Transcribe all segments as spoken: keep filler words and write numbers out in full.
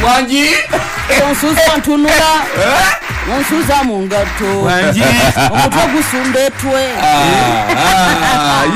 Wangi onsuza ntunula onsuza mu ngatto wangi omutwe gusumba etwe.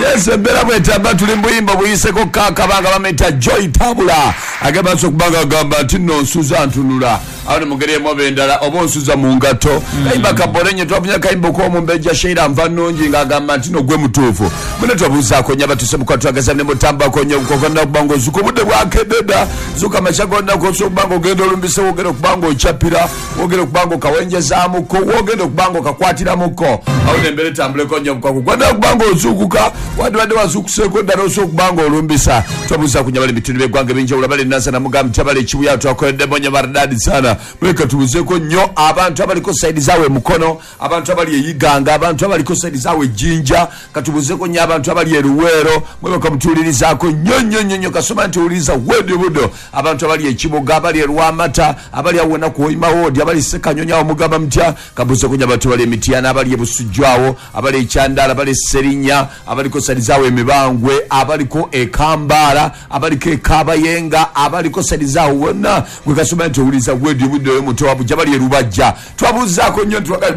Yes, embeera bwetamba tuli mbuyimba buyiseko kakabanga bameta Joy Tabula agamba nso kubanga agamba nti nno nsuza ntunula awo ne mugeri emu oba endala oba onsuza mu ngatto. Kayimba kabolenye twafunye akayimba ok'omumbejja Sheila Nvannungi ng'agamba nti nno gwe mutuufu. Mune twabuuzaako nnyo abatuse mu kwatwagaza ne mutambako nnyo okugenda okuba ng'ozuka obudde bwakedde dda zuka amakya gonna k'osobola okuba ng'ogenda olumbise wogenda okuba ng'okyapira wogenda okuba ng'okawenjezaamuko wogenda okuba ng'okakwatiramuko awo n'embeera etambuleko nnyo obukaku gwanda okuba ng'ozuukuka wandibadde wazuukuseeko ddala osobola okuba ng'olumbisa. Twabuuzaako nnyo abali mu bitundu by'eggwanga ebyenjawulo abali e Nansana mugamba nti abali e Kibuye twakoleddemu nnyo maridadi sana. Muleka tubuuzeeko nnyo abantu abaliko sayidi zaabwe Mukono, abantu abali e Iganga, abantu abaliko sayidi zaabwe Jinja, katubuuzeeko nnyo abantu abali e Luweero, mwebaka mutuwulirizaako nnyo nnyo nnyo nnyo kasoma nti wuliriza wedi buddo abantu abali e Kiboga, abali e Lwamata, abali awo wonna ku Hoima Ward, abali Ssekanyonyi awo mugamba mutya. Kabuuzeeko nnyo abantu abali e Mityana, abali e Busujju awo, abali e Kyandala, abali e Sserinnya, abaliko sayidi zaabwe e Mibangwe, abaliko e Kambaala, abaliko e Kabayenga, abaliko sayidi zaabwe wonna gwe kasoma nti owuliriza wedi buddo y'omuntu wa bujja bali e Lubajja. Twabuuzaako nnyo nti twagala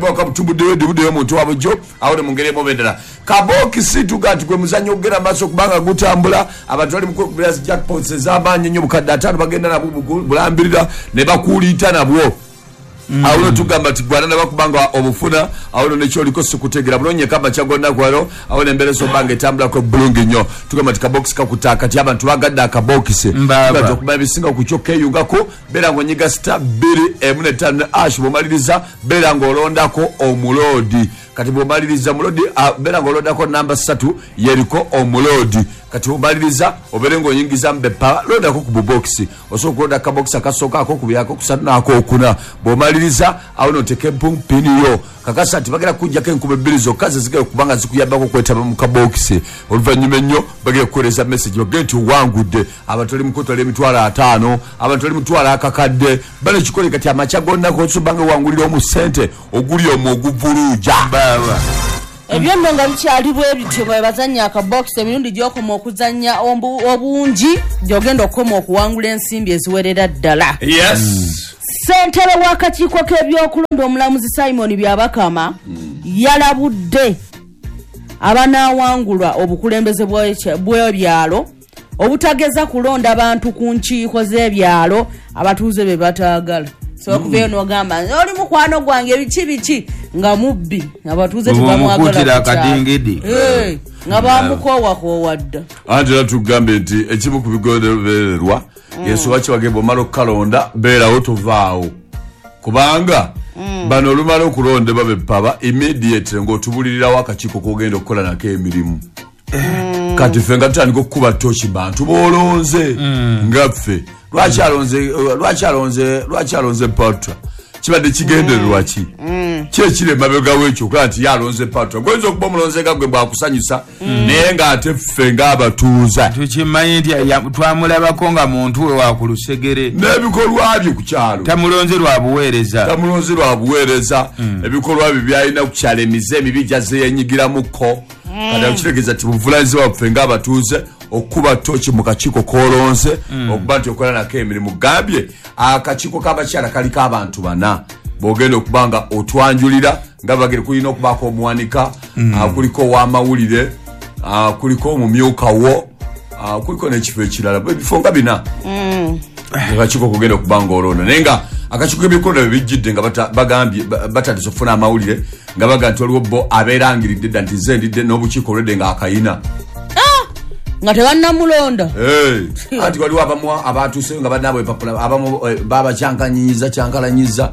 wedi buddo y'omuntu wa bujjo awo ne mu ngeri emu oba endala. Kabokisi tuga nti gwe muzannyo ogugenda maaso kubanga gutambula abantu bali mu kwekubira zi jackpots ez'amaanyi ennyo bukadde ataano bagenda nabwo bulambirira ne bakuuliita nabwo. Awo no tugamba nti gwana nabakubanga obufuna awo no nekyoliko sikutegeera bulungi kama kyagonna kwalo awo n'embeera esobanga etambulako bulungi nnyo. Tugamba nti kabokisi kakuta akati abantu bagadde akabokisi Mbaaba. Okuba ebisinga ku kyo keeyungako beera ng'onyiga star bbiri emu n'ettaano ne ash bw'omaliriza beera ng'olondako omuloodi. Kati bw'omaliriza muloodi beera ng'olondako namba ssatu yeriko omuloodi. Kati bw'omaliriza obeere ng'oyingiza mbepa londako ku bubokisi osobola okulonda akabokisi akasooka akokubiri akokusatu n'akokuna. Bw'omaliriza awo n'oteeka empini yo kakasa nti bagenda kukuggyako enkuba ebbiri zokka ze zigenda okuba nga zikuyambako okwetaba mu kabokisi. Oluvannyuma ennyo bagenda kukuweereza message bagende nti owangudde abantu bali mu kutwala emitwalo ataano abantu bali mutwala akakadde bano kikole kati amakya gonna k'osobola nga owangulira omu ssente oguli omwo oguvuluuja. Baaba. Ebyo nno nga bikyali bwe bityo bwe bazannya akabokisi emirundi gy'okoma okuzannya obungi gy'ogenda okukoma okuwangula ensimbi eziwerera ddala. Yes. Ssentebe w'akakiiko k'ebyokulonda omulamuzi Simon Byabakama yalabudde abanaawangulwa obukulembeze bw'ebyalo obutageza kulonda bantu ku nkiiko z'ebyalo abatuuze be bataagala. So okuveeyo n'ogamba oli mukwano gwange biki biki nga mubbi abatuuze tebamwagala akadingidi nga bamukoowakoowa dda. Anti era tugambe nti ekimu ku bigobererwa Yesu lwaki bagenda omala okukalonda beerawo tovaawo kubanga bano olumala okulondebwa bepaba immediately ng'otubulirirawo akakiiko k'ogenda okukola nako emirimu. Kati ffe nga tutandika okukuba ttooki bantu b'olonze nga ffe lwaki alonze lwaki alonze lwaki alonze Patra kibadde kigendererwa ki ki ekiri emabega w'ekyo okulaba nti ye alonze Patra goyinza okuba omulonze nga gwe bwakusanyusa naye ng'ate ffe ng'abatuuza tukimanyi nti twamulabako nga muntu we wa ku lusegere n'ebikolwa bye ku kyalo tamulonze lwa buweereza tamulonze lwa buweereza ebikolwa bye byalina ku kyalo emize emibi gyazze yenyigiramuko. Kati kitegeeza nti buvunaanyizibwa bwaffe ng'abatuuze okukuba ttooki mu kakiiko k'olonze okuba nti okola nako emirimu. Gambye akakiiko k'abakyala kaliko abantu bana bw'ogenda okuba nga otwanjulira nga bagere kulina okubaako omuwanika, kuliko ow'amawulire, kuliko omumyuka wo, kuliko n'ekifo ekirala ebifo nga bina akakiiko kogenda okuba nga olonda. Naye nga akakiiko k'ebyokulonda bwe bijjidde nga bagambye batandise okufuna amawulire nga bagamba nti waliwo bo abeerangiridde dda nti nze ndidde n'obukiiko olwedde ng'akayina nga tebannamulonda. Anti waliwo abamu abatuuseyo nga bannaabwe empapula abamu babakyankanyiza kyankalanyiza.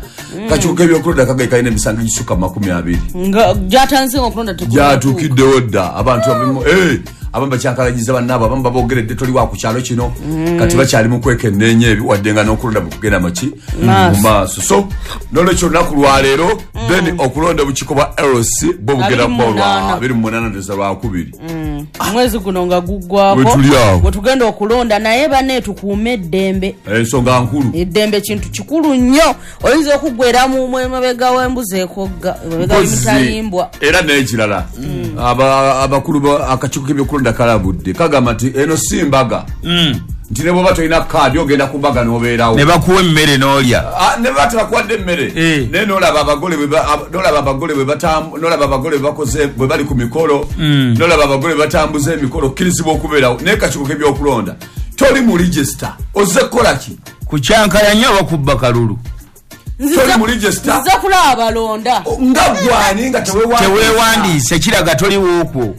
Kakiiko k'ebyokulonda kagaye kalina emisango egisukka mu makumi abiri nga gyatandise okulonda gyatuukiddewo dda abantu abamu abamu bakyankalanyiza bannaabwe abamu baboogeredde toli wa ku kyalo kino kati bakyali mu kwekenneenya ebyo wadde nga n'okulonda bwe kugenda maki mu maaso. So n'olwekyo olunaku lwaleero then okulonda obukiiko bwa L C bwo bugenda kuba olwa abiri mu munaana ndowooza lwakubiri mwezi guno nga guggwako wetugenda okulonda. Naye banne tukuume eddembe, ensonga nkulu. Eddembe kintu kikulu nnyo, oyinza okuggwera mu emabega w'embuzi ekogga emabega w'emitayimbwa. Era n'ekirala abakulu akakiiko k'ebyokulonda kalabudde kagamba nti eno si mbaga Nti ne bw'oba tolina kaadi ogenda ku mbaga n'obeerawo. Ne bakuwa emmere n'olya. Ah, ne baba tebakuwadde emmere. Eh. Naye n'olaba abagole bwe ba- ab- n'olaba abagole bwe batambu- n'olaba abagole bwe bakoze bwe bali ku mikolo, n'olaba abagole bwe batambuza emikolo, okkirizibwa okubeerawo. Naye kakiiko k'ebyokulonda toli mu register, ozze kukola ki? Kukyankalanya oba kubba kalulu? Toli mu register. Nzize kulaba abalonda. Nga gwani nga teweewandiisa. Teweewandiise kiraga toli wookwo.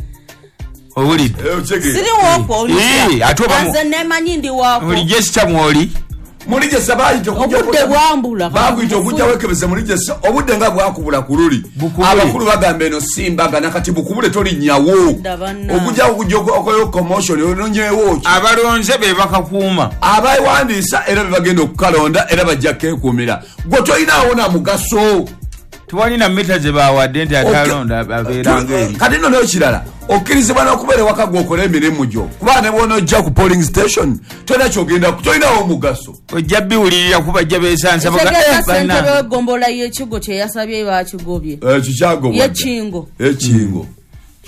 Owulidde? Eh, okitegeera. Siri wookwo, Eh, ate oba mu- nze nemanyi ndi waakwo. Mu register mw'oli? Mu register baayita okujja Obudde bwambula. Baakuyita okujja weekebeze mu register, obudde nga bwakubula ku luli. Bukubule. Abakulu bagamba eno si mbaga, nakati bukubule tolinnyawo. Dda banna. Okujja okujja okoleyo commotion, ononyeewo ki? Abalonze be bakakuuma. Abawandiisa era be bagenda okukalonda era bajja keekuumira. Gwe tolinaawo na mugaso. Tewali na mita ze bawadde nti atalonda abeera ng'eri. Kati nno n'ekirala, okkirizibwa n'okubeera ewaka gw'okola emirimu gyo. Kuba ne bw'onojja ku polling station, tolina ky'ogenda ku-, tolinawo omugaso. Ojja biwulirira kuba bajja beesansa baga, Ekitegeeza eh, ssentebe bannange. w'eggombolola y'ekigo kye yasabye baakigobye. Eh, kikyagobwa dda. Y'ekingo. Ekingo.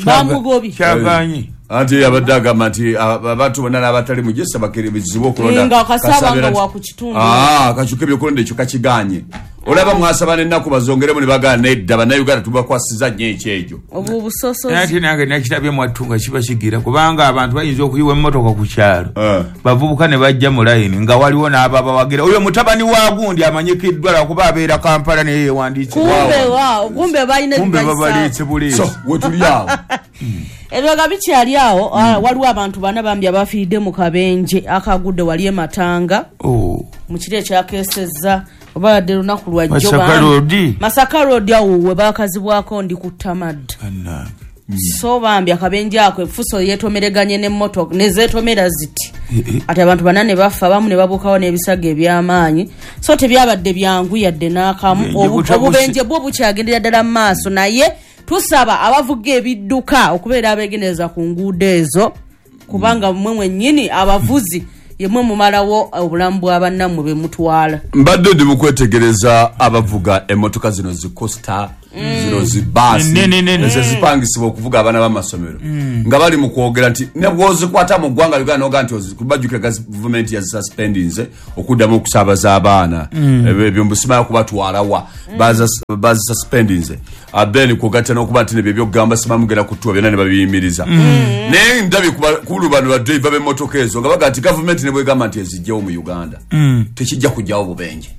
Bamugobye. Kyagaanyi. Anti yabadde agamba nti, ah, abantu bonna n'abatali mu gisa bakkirizibwa okulonda. Nga Kasaaba Kasaaba nga wa ku kitundu. Ah, akakiiko k'ebyokulonda ekyo kakigaanye. Olaba mwasaba n'ennaku bazongeremu ne bagaana nedda, bannayuganda tubakwasiza nnyo ekyegyo. Obwo obusosozi. Naye ate nange nakirabye mwattu nga kiba kigira, kubanga abantu bayinza okuyiwa emmotoka ku kyalo. Eh. Bavubuka ne bajja mu layini nga waliwo n'ababawagira. Oyo mutabani wa gundi amanyikiddwa lwakuba abeera Kampala naye yeewandiise. Kumbe waawo, kumbe balina Kumbe ebibayisa. babaleetse buleesi. So, we tuli awo. Ebyo nga bikyali awo, ah, waliwo abantu bana bambi abafiiridde mu kabenje akagudde wali e Matanga. Oh. Mu kiro ekyakeesezza, oba yadde lunaku lwa jjo Masaka bambi. Road. Masaka Road awo we baakazibwako ndi ku Tamad. Bannange. So bambi akabenje ako effuso yeetomereganye n'emmotoka, ne zeetomera ziti. Eh, eh. Ate abantu bana ne bafa, abamu ne babuukawo n'ebisago eby'amaanyi. So tebyabadde byangu yadde n'akamu. Obubenje Obu-, butabuse. Obubenje bwo bukyagendera ddala mu maaso, naye tusaba abavuga ebidduka okubeera abeegendereza ku nguudo ezo, kubanga mmwe mwennyini abavuzi ye mmwe mumalawo obulamu bwa bannammwe be mutwala. Mbadde ndi mu kwetegereza abavuga emmotoka zino zi coaster, zino zi baasi, Nene, nene, nene. ezo zipangisibwa okuvuga abaana b'amasomero. Nga bali mu kwogera nti ne bw'ozikwata mu ggwanga Uganda n'ogaa nti ozi-, bajjukira gavumenti yazisuspendinze okuddamu okusaabaza abaana. Ebyo, ebyo mbusimayo kubatwala wa. Baza-, bazisuspendinze. Ah, then kugatta n'okuba nti nebyo ebyokugamba simanyi mugenda kutuwa byonna ne babiyimiriza. Naye ndabye ku ba-, ku lubano ba driver b'emmotoka ezo nga bagamba nti gavumenti ne bwegamba nti ezijjewo mu Uganda. Tekijja kujjawo bubenje.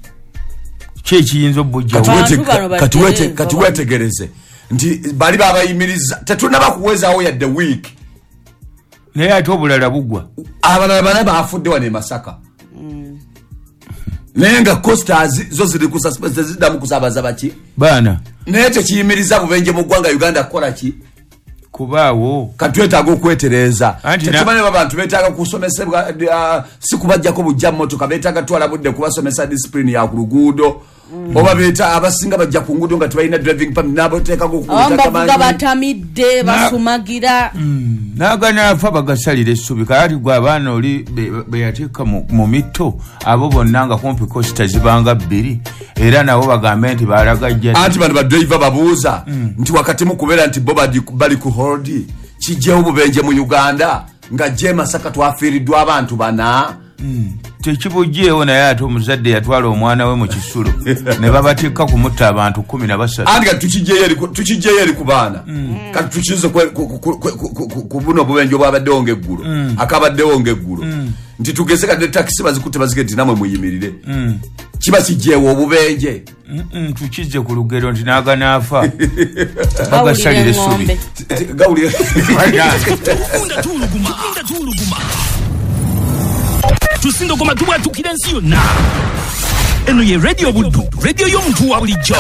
Ki ekiyinza obujjawo? Kati wete- Abantu bano kati wete- batereeza kati bano. wetegereze nti bali babayimiriza, tetunnaba kuwezaawo yadde week. Naye ate obulala bugwa. Abalala bana bafudde wano e Masaka. Naye nga coasters zo ziri ku suspense, teziddamu kusaabaza baki? Baana. Naye tekiyimiriza bubenje mu ggwanga Uganda kukola ki? Kubaawo. Kati twetaaga okwetereeza. Anti na- Tetumanyi oba abantu beetaaga kusomesebwa, ah, si kubaggyako bujja mmotoka, beetaaga twala budde kubasomesa discipline ya ku luguudo. Oba beeta abasinga bajja ku nguudo nga tebalina driving permit, n'abateekako ku Abamu butaka bavuga manyi. batamidde, Na- basumagira. Mm. N'aganaafa bagasalira essubi. Kaakati gwe abaana oli be-, be yateeka mu-, mu mitto, abo bonna nga kumpi coaster zibanga bbiri, era nabo bagambe nti balagajja. Anti bano badriver babuuza Mm. nti wakati mu kubeera nti bo badi-, bali ku hold, kijjewo obubenje mu Uganda nga gye Masaka twafiiriddwa abantu bana. Mm. Tekibugyewo, naye ate omuzadde yatwala omwana we mu kisulo ne babatikka kumutta abantu kkumi na basatu. Anti kati tukijjeyo eri ku-, tukijjeyo eri ku baana. Mm. Kati tukize ku-, ku-, ku-, ku-, ku-, ku-, ku-, ku buno obubenje obwabaddewo ng'eggulo. Mm. Akabaddewo ng'eggulo. Mm. Nti tugeze kati ne takisi bazikutte bazige nti nammwe muyimirire. Mm. Kiba kijjeewo obubenje. Mm-mm, tukizze ku lugero nti n'aganaafa. Gawulira Bagasalira essubi. eng'ombe. Gawulira. Tukunda tuwuluguma. Tukunda tuwuluguma. Tusindogoma tubwatukira ensi yonna. Eno ye Radio Buddu, radio y'omuntu wa bulijjo.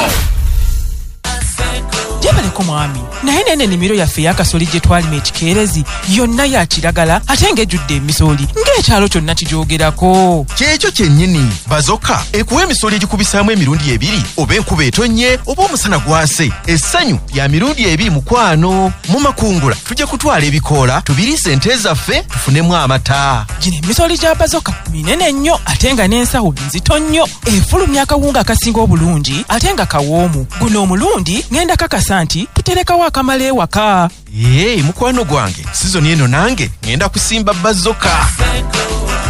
Gyebaleko mwami, naye nene ennimiro yaffe ey'akasoli gye twalima ekikeerezi yonna ya kiragala ate ng'ejjudde emisooli ng'ekyalo kyonna kigyogerako. Kyekyo kyennyini, Bazoka ekuwa emisoli egikubisaamu emirundi ebiri, oba enkuba etonnye oba omusana gwase. Essanyu lya mirundi ebiri mukwano. Mu makungula tujja kutwala ebikoola tubiriise ente zaffe tufunemu amata. Gino emisoli gya Bazoka minene nnyo ate nga n'ensawo nzito nnyo, efulumya akawunga akasinga obulungi ate nga kawoomu. Guno omulundi ngenda kakasa nti tuterekawo akamala ewaka. Ee, mukwano gwange, sizoni eno nange ngenda kusimba Bazoka.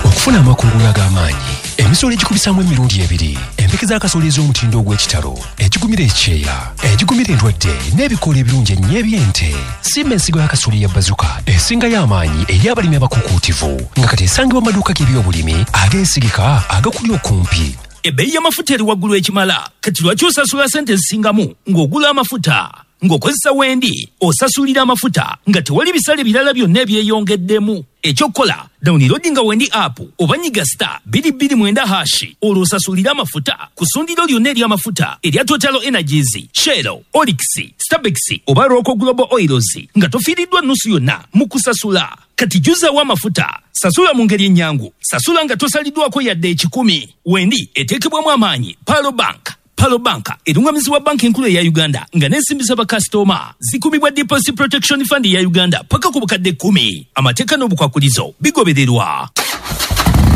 Okufuna Okufuna amakungula ag'amaanyi, emisolo egikubisaamu emirundi ebiri, empeke z'akasooli ez'omutindo ogw'ekitalo, egigumira ekyeya, egigumira endwadde n'ebikoola ebirungi ennyo eby'ente. Simba ensigo y'akasooli ya Bazuka esingayo amaanyi eri abalimi abakukuutivu, nga kati esangibwa mu maduuka g'ebyobulimi ageesigika agakuli okumpi. Ebbeeyi y'amafuta eri waggulu ekimala. Kati lwaki osasula sente ezisingamu ng'ogula amafuta? Ng'okozesa Wendi osasulira amafuta nga tewali bisale birala byonna ebyeyongeddemu. Ekyokukola, downloadinga Wendi app oba nyiga star bbiri bbiri mwenda hash, olwo osasulire amafuta ku ssundiro lyonna ery'amafuta erya Total Energies, Shell, Oryx, Stabex oba Roco Global Oils nga tofiiriddwa nnusu yonna mu kusasula. Kati jjuzaawo amafuta, sasula mu ngeri ennyangu, sasula nga tosaliddwako yadde ekikumi. Wendi eteekebwamu amaanyi Palo Bank. Palo Bank erungamizibwa banki enkulu eya Uganda nga n'ensimbi z'abakasitoma zikumibwa Deposit Protection Fund eya Uganda paka ku bukadde kkumi. Amateeka n'obukwakulizo bigobererwa.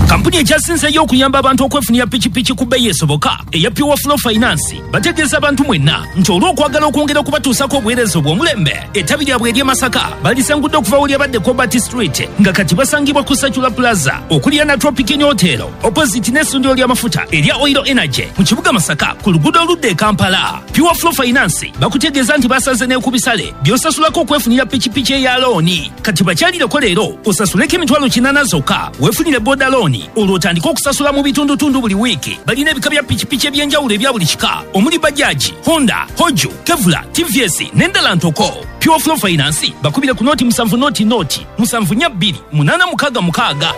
Kampuni ekyasinzeeyo okuyamba abantu okwefunira pikipiki ku bbeeyi esoboka eya Pure Flow Finance bategeeza abantu mwenna nti olw'okwagala okwongera okubatuusako obuweereza obw'omulembe, ettabi lyabwe ery'e Masaka balisangudde okuva we lyabadde Cobalt Street nga kati basangibwa ku Sacula Plaza okuliraana Tropic Inn Hotel opposite n'essundiro ly'amafuta erya Oil Energy mu kibuga Masaka ku luguudo oludda e Kampala. Pure Flow Finance bakutegeeza nti basaze ne ku bisale by'osasulako okwefunira pikipiki eya looni. Kati bakyalireko leero osasuleko emitwalo kinaana zokka weefunire boda looni, olwo otandike okusasula mu bitundutundu buli wiiki. Balina ebika bya pikipiki eby'enjawulo ebya buli kika omuli Bajaji, Honda, Hoju, Kevula, T V S n'endala ntoko. Pure Flow Finance bakubire ku noti musanvu noti noti musanvu nnya bbiri munaana mukaaga mukaaga.